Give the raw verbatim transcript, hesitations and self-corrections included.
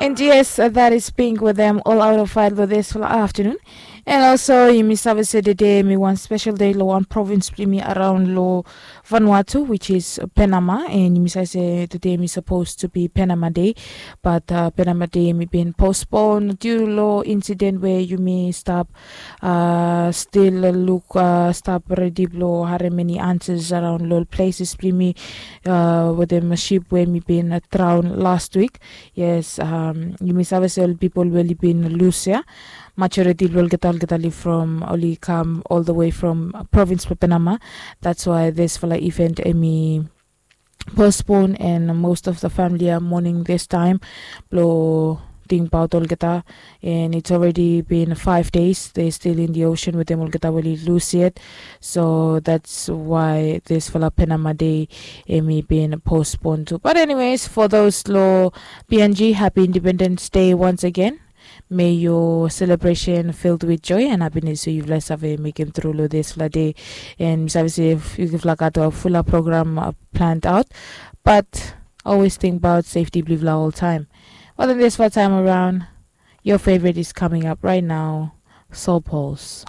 And yes, that is Pink with them all out of fight lo this afternoon. And also, yumi save se today mi wan special day lo wan province blong yumi around lo Vanuatu, which is Panama. And yumi save se today mi supposed to be Panama Day, but uh, Panama Day mi bin postpone due lo incident where yumi stop uh, still look uh, stop ready lo harem any answers around lo places blong yumi uh, with them ship where mi bin uh, drown last week. Yes, um, yumi save se ol people where li bin lose ya. Majority lo olgeta olgeta li from oli come all the way from province Panama. That's why this fala event emi postpone and most of the family are mourning this time. Blo think about olgeta, and it's already been five days they're still in the ocean with them olgeta where li lose yet. So that's why this fala Panama Day emi bin postpone too. But anyways, for those lo P N G, happy Independence Day once again. May your celebration filled with joy and happiness so yufala save mekem tru lo this fala day. And mi save se yufala gat a fula program uh, planned out, but always think about safety blong yufala all time. But in this fala time around, your favorite is coming up right now, Soul Pulse.